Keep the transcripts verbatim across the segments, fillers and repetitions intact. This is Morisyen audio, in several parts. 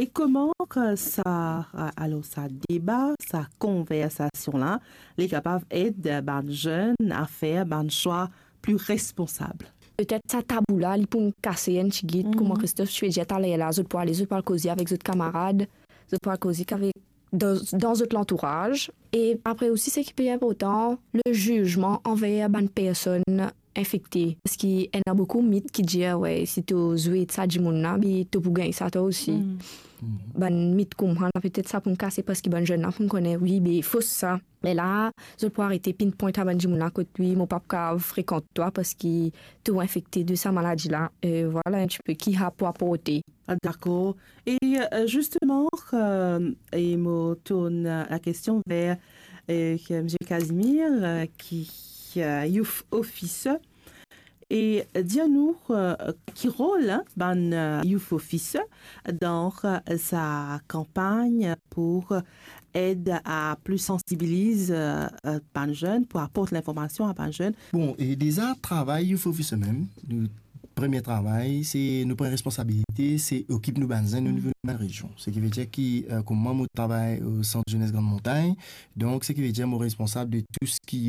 E kouma ke sa, alor sa deba, sa konversasion la, li kapav ed bann zenn a fer bann swa pli responsab? Petet sa tabou la, li pou kase enn tigit, kouma Christophe ti pe dir taler la, zot pou ale, zot pou al koze avek zot kamarad, zot pou al koze avek, dan, dan zot lantouraz. E apre osi, seki pli inportan, le zizman anver bann personn infekte. Parski ena boukou mit ki dir, we, si to zwet sa dimoun la, be to pou gagn sa twa osi. Bann mit koumsa la, petet sa pou kase, parski bann zenn la pou kone, wi, be fos sa. Me la, zot pou arete pinpoint a bann dimoun la kot, wi, mo pa pou kapav frekant twa parski to infekte de sa maladi la. E vwala enn tipe ki sa pou aporte. Ah, dakor. E, euh, zisteman, euh, e mo tourn lakestion ver, euh, Msye Casimir, euh, ki, euh, youth officer. E dir nou, euh, ki rol, hein, bann, euh, youth officer dan, euh, sa kanpagn pou ed a plis sansibiliz, euh, euh, bann zenn, pou aport linformasion a bann zenn? Bon, e deza, travay youth officer mem, nou premie travay, se nou pran responsabilite, se okip nou bann zenn o nivo nou bann rezion. Seki ve dir ki, euh, kouma mwa, mo travay o Sant Zenes Grande Montagne, donk seki ve dir mo responsab de tou seki,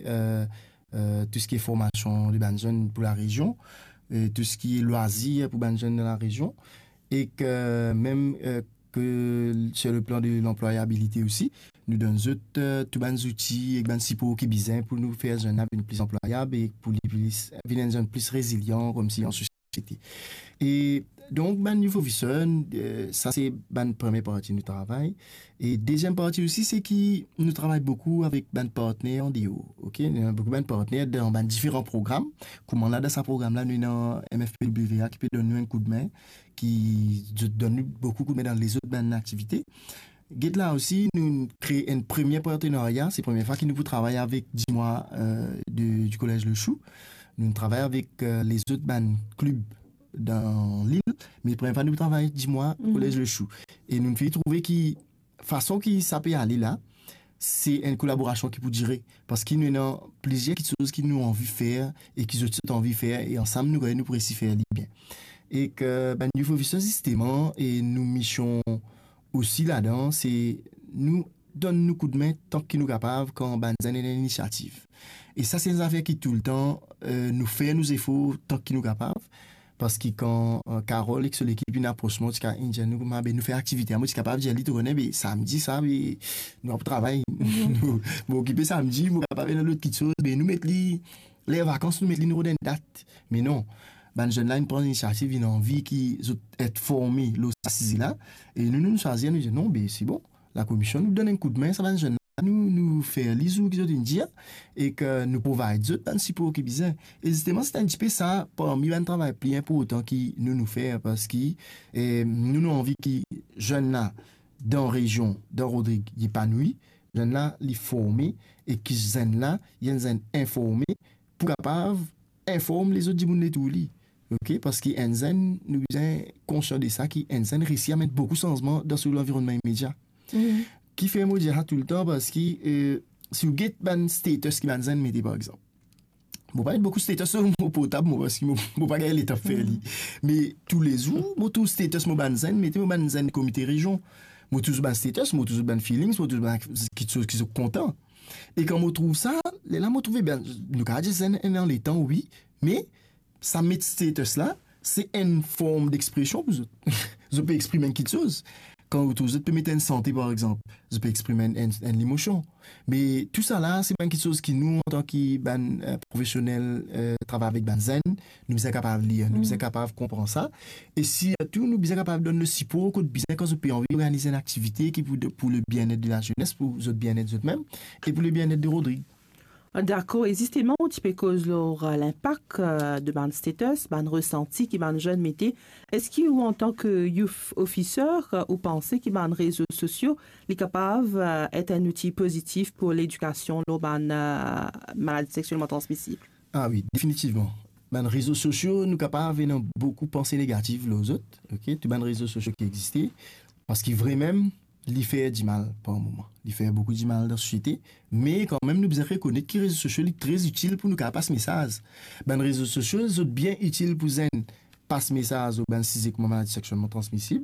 euh, euh, tou seki formasion de bann zenn pou larezion, e tou seki lwazir pou bann zenn dan larezion, e ke mem, euh, ke sur le plan de lanplwayabilite osi, nou donn zot, euh, tou bann zouti ek bann sipor ki bizin pou nou fer zenn la vinn pli anplwayab e pou li plis, vinn enn zenn plis rezilian koumsi an sosiete. E donk, bann youth officer, euh, sa se bann premie parti nou travay. E deziem parti osi, se ki nou travay boukou avek bann partner andeor, ok? Nou ena boukou bann partner dan bann diferan program. Kouma la, dan sa program la, nou ena M F P W A ki pe donn nou enn koudme, ki donn nou boukou koudme dan lezot bann aktivite. Get la osi, nou kree enn premie partenarya. Se premie fwa ki nou pou travay avek Dimwa, euh, de, di Kolez Le Chou. Nou travay avek, euh, lezot bann klib dan lil, me premie fwa nou travay Dimwa, Kolez Le Chou. E nou finn trouve ki fason ki sa pe ale la, se enn kolaborasion ki pou dire, parski nou ena plizier kiksoz ki nou anvi fer e ki zot, zot anvi fer, e ansam nou, nou pou resi fer li bien. E ke bann youth officer, zisteman, e nou mision osi ladan, se nou donn nou koudme tank ki nou kapav kan bann zenn ena inisiativ. E sa se enn zafer ki toultan, euh, nou fer nou zefor tank ki nou kapav. Parski kan, euh, Carole ek so lekip inn apros mwa, ti ka, inn dir nou kouma, be nou fer aktivite, mo ti kapav dir li, to kone, be samdi sa, be nou ap travay, nou, mo okipe samdi, mo kapav ena lot kiksoz, be nou met li, ler vakans, nou met li, nou rod enn dat. Me non, bann zenn la inn pran inisiativ, inn anvi ki zot et forme lor sa size la, e nou, nou, nou swazir, nou dir, non, be se bon, lakomision, nou donn enn koudme, sa bann zenn la, nou, nou fer li zour ki zot inn dir, e ke nou provide zot bann sipor ki bizin. E zisteman, se enn tipe sa parmi bann travay pli inportan ki nou, nou fer, parski, eh, nou, nou anvi ki zenn la, dan rezion, dan Rodrig, li epanoui, zenn la, li forme, e ki zenn la, li enn zenn informe, pou kapav inform lezot dimoun letour li. Ok? Parski enn zenn, nou bizin konsian de sa, ki enn zenn resi amenn boukou sanzman dan so lanvironnman imedia. Kifer mo dir sa toultan? Parski, eh, si ou get bann status ki bann zenn mete, par exanp, mo pa met boukou status lor mo portab, mo, parski mo, mo pa gagn letan fer li. Me toulezour, mo trouv status mo bann zenn mete, mo bann zenn komite rezion. Mo trouv bann status, mo trouv bann feelings, mo trouv bann kiksoz ki zot kontan. E kan mo trouv sa, lerla mo trouve, ben, nou kapav dir zenn ena letan, wi, me sa met status la, se enn form dexpresion pou zot. Zot pe exprim enn kiksoz. Kan ou trouv zot pe met enn sante, par exanp, zot pe exprim enn, enn, enn lemosion. Me tou sa la, se bann kiksoz ki nou, antan ki bann, eh, profesionel, eh, travay avek bann zenn, nou bizin kapav lir, nou bizin kapav konpran sa. E sirtou, nou bizin kapav donn le sipor kot bizin kan zot pe anvi organiz enn aktivite ki pou, pou le bienet de lazenes, pou zot bienet zot mem, e pou le bienet de Rodrig. Dakor, e zisteman, ou ti pe koz lor, eh, linpak, eh, de bann status, bann resanti ki bann zenn mete. Eski ou, antan ki youth officer, eh, ou panse ki bann rezo sosio, li kapav, eh, et enn outi pozitif pou ledikasion lor bann, eh, maladi sexielman transmisib? Ah wi, definitivman. Bann rezo sosio, nou kapav ena boukou panse negatif lor zot, ok? Tou bann rezo sosio ki existe, parski vremem, li fer dimal par moman. Li fer boukou dimal dan sosiete, me kanmem nou bizin rekonet ki rezo sosio li tre itil pou nou kapav pas mesaz. Bann rezo sosio, zot bien itil pou zenn pas mesaz lor bann size kouma maladi sexielman transmisib,